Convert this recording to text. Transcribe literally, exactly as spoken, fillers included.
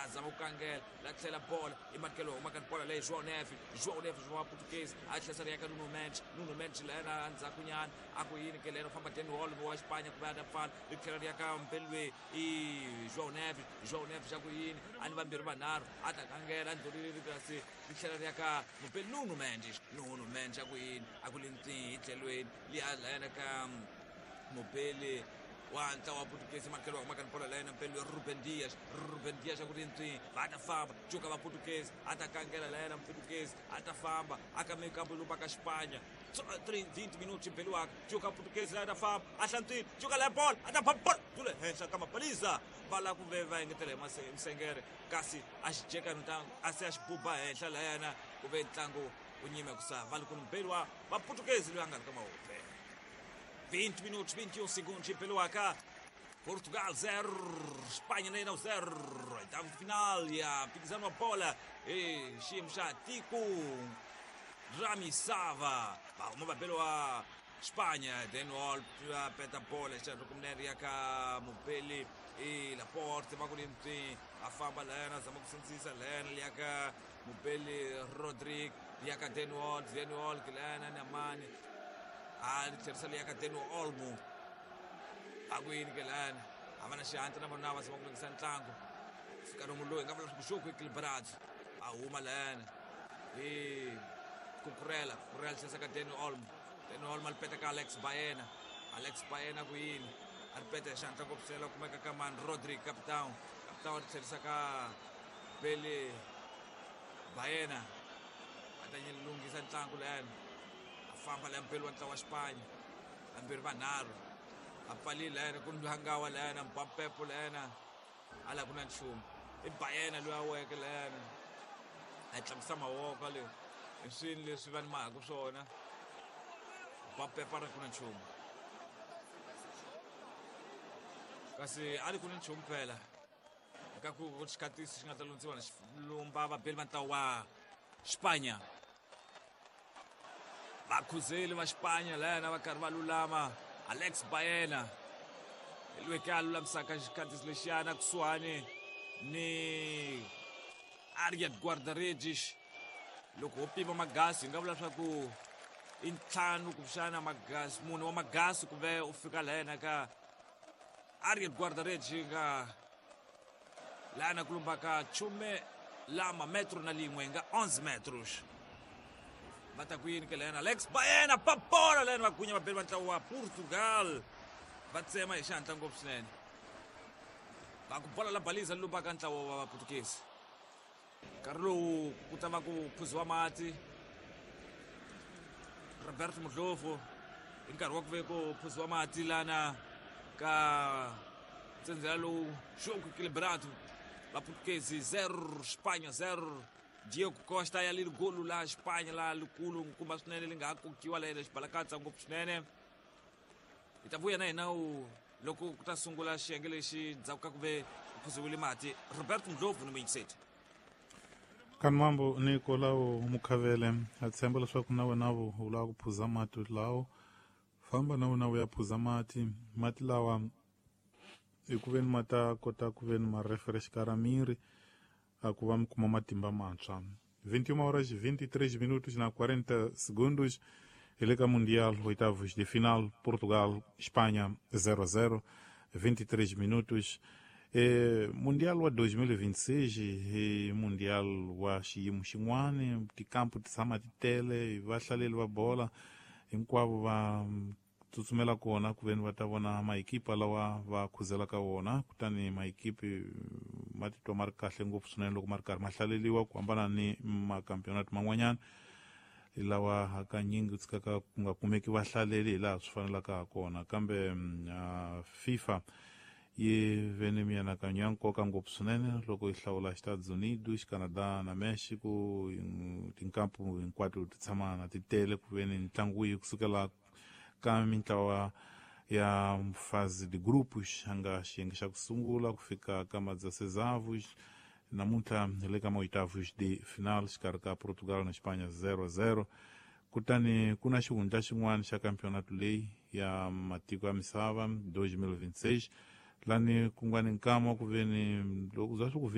A zama ku kangela la tlhela bola i makelo huma ka bola leyi João Neves João Neves wa Portuguese a tlhela ri ya ka Nuno Mendes Nuno Mendes lena endzhaku nyana a ku yini ke lena famba Dani Olmo wa Espanha ku va ya pfala ri tlhela ri ya ka Mbelwe i João Neves João Neves a ku yini a ni vambirhi vanharhu a ta kangela ndlulile ri kasi ri tlhela ri ya ka Mbelwe Nuno Mendes Nuno Mendes a ku yini a ku lintsi hi tlhelweni liya lena ka Mobele wa ntlawa wa Portuguese makelo wa huma bola lena Mbelwe Ruben Dias Ruben Dias a ku ri ntsi va ta famba cuka va Portuguese a ta kangela lena Portuguese a ta famba a ka mikambo lumba ka Espanha vinte minutos Mbelwe cuka Portuguese la ta famba a hlantswile cuka la bola a ta bola dule henhla ka mapalisa va la ku ve va engetela hi Msengere kasi a xi jeka ntangu a se a xi buba henhla layana ku ve ntlangu u nyime ku sa va ku Mbelwe va Portuguese loyi a nga ri ka mahope. vinte minutos, vinte e um segundos em Peluaca. Portugal zero, Espanha nem zero. Oitavo de final, e a pisando a bola. E Ximxa Tico Ramisava. Uma pela Espanha. Daniel peta a bola. Xa Mobele e Laporte. Magulinti a famba lena, Zamoxensisa lena, Liaka Mobele Rodrigo, Liaka Daniel, Daniel Lena Namani. A tlherisa leyi ka Dani Olmo a ku yini ke lana a va na xihatla na vona va zama ku lunghisa ntlangu fika lomu loyi nga vula leswaku jogo equilibrado a huma lana i Cucurella Cucurella tlherisa ka Dani Olmo Dani Olmo a ri peta ka Alex Baena Alex Baena ku yini a ri peta hi xihatla ngopfu swinene la kumeka ka man Rodri capitão capitão a ri tlherisa ka Bele Baena a ta lunghisa ntlangu lana famba la Mbelwe wa ntlawa wa Espanha vambirhi vanharhu a pfalile lena ku ndwangawa lena Mpampepo lena a la ku na nchumu i Baena loyi a weke lena a tlakusa mavoko le hi swini leswi va ni mahaku swona Mpampepo a ri ku na nchumu kasi a ri ku na nchumu phela ka ku xikatisi xi nga ta lundziwa na lumba vabeli va ntlawa wa Espanha vakhuzeli va Espanha lena va karhi va lulama Alex Baena loyi ka a lulamisaka xikhatisi lexiyana kusuhani ni Ariad Guardaredes loko ho pima magasi hi nga vula leswaku i ntlhanu kumbexana magasi mune wa magasi ku ve u fika lena ka Ariad Guardaredes nga lana ku lumbaka chume lama metro na lin'we nga onze metros va ta ku yini ke lena Alex Baena pa bola lena va gunya vabeli va ntlawa wa Portugal va tsema hi xihatla ngopfu swinene va ku bola la baliza lumbaka ntlawa wa Vaportuguese nkarhi lowu ku ta va ku phuziwa mati Roberto Mudlovu hi nkarhi wa ku ve ku phuziwa mati lana ka ntsendzela lowu jogo equilibrado Vaportuguese zero Espanha zero Diego Costa ya leli golu la Espanha la likulu nkumba swinene li nga ha kokiwa la xibalakatsa ngopfu swinene hi ta vuya na hina u loko ku ta sungula xiyenge lexi ndzhaku ka ku ve ku phuziwile mati Roberto Ndlovu ni muyingiseti Kanmambo Nicolau Mukhavele a tshemba leswaku na wena u lava ku phuza mati lawo famba na wena u ya phuza mati mati lawa hi ku veni ma ta kota ku veni ma refresh ka miri a ku va mi kuma matimba mantshwa. vinte e uma horas vinte e três minutos na quarenta segundos hi le ka Mundial oitavos de final Portugal Espanha zero a zero vinte e três minutos. E, Mundial wa dois mil e vinte e seis i Mundial wa xiyimo xin'wani tikampu ti tshama ti tele vahlaleli va bola hinkwavo va tsutsumela kona ku veni va ta vona maekipa lawa va khuzelaka wona kutani maekipi ma titwa ma ri kahle ngopfu swinene loko ma ri karhi ma hlaleliwa ku hambana ni makampeonato man'wanyana lawa hakanyingi tshikaka ku nga kumeki vahlaleli hi laha swi fanelaka ha kona kambe uh, FIFA yi ve ni mianakanyo ya nkoka ngopfu swinene loko yi hlawula Estados Unidos, Canada na Mexico tinkampu hinkwato ti tshama na ti tele ku ve ni ntlangu yi kusukela ka mintlawa ya fase de grupos a nga xiyenge xa ku sungula ku fika ka madzasezavos namuntlha hi le ka maoitavos de final xikarhi ka Portugal na Espanha zero a zero kutani ku na xihundla xin'wana xa campeonato leyi ya matiko ya misava dois mil e vinte e seis lani ku nga ni nkama ku ve ni loko za swi ku